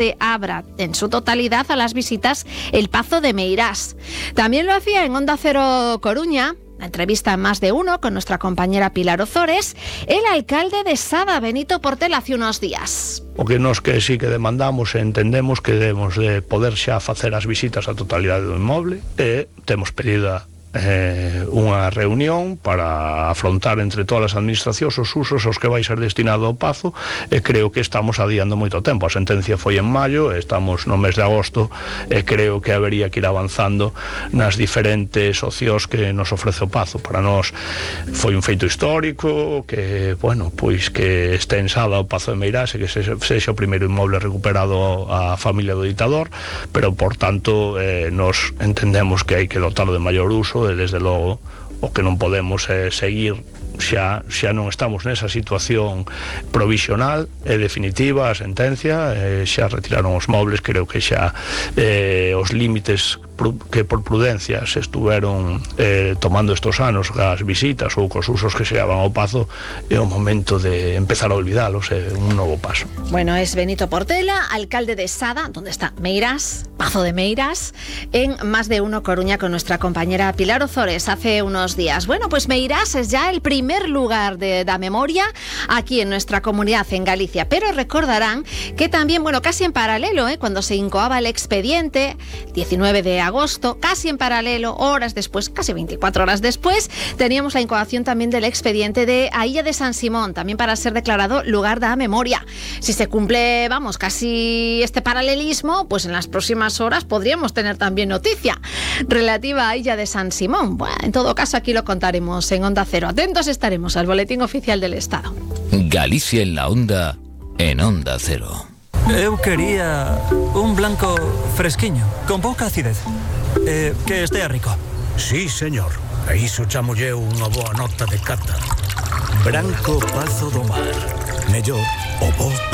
se abra en su totalidad a las visitas el Pazo de Meirás. También lo hacía en Onda Cero Coruña, la entrevista en Más de Uno con nuestra compañera Pilar Ozores, el alcalde de Sada, Benito Portela, hace unos días. O que nos que sí que demandamos e entendemos que debemos de poder xa facer as visitas á totalidade do inmoble e temos pedida unha reunión para afrontar entre todas as administracións os usos aos que vai ser destinado o Pazo, e creo que estamos adiando moito tempo. A sentencia foi en maio, estamos no mes de agosto e creo que habería que ir avanzando nas diferentes opcións que nos ofrece o Pazo. Para nós foi un feito histórico que, bueno, pois que este en Sada o Pazo de Meirás e que sexa o primeiro inmoble recuperado a familia do ditador, pero por tanto nos entendemos que hai que dotarlo de maior uso. E desde logo o que non podemos é seguir, xa non estamos nesa situación provisional e definitiva, a sentencia, xa retiraron os mobles, creo que xa os límites que por prudencia se estuveron tomando estos anos as visitas ou cos usos que se daban ao Pazo, é o momento de empezar a olvidalos, é un novo paso. Bueno, es Benito Portela, alcalde de Sada, donde está Meirás, Pazo de Meirás, en Más de Uno Coruña con nuestra compañera Pilar Ozores hace unos días. Bueno, pues Meirás es ya el primer lugar de la memoria aquí en nuestra comunidad, en Galicia, pero recordarán que también, bueno, casi en paralelo, cuando se incoaba el expediente, 19 de agosto, casi en paralelo, horas después, casi 24 horas después, teníamos la incoación también del expediente de a Illa de San Simón, también para ser declarado lugar da memoria. Si se cumple, vamos, casi este paralelismo, pues en las próximas horas podríamos tener también noticia relativa a Illa de San Simón. Bueno, en todo caso, aquí lo contaremos en Onda Cero. Atentos estaremos al Boletín Oficial del Estado. Galicia en la Onda, en Onda Cero. Eu quería un blanco fresquiño, con pouca acidez, que estea rico. Sí, señor. A iso chamolle unha boa nota de cata. Branco Pazo do Mar. Mellor o bo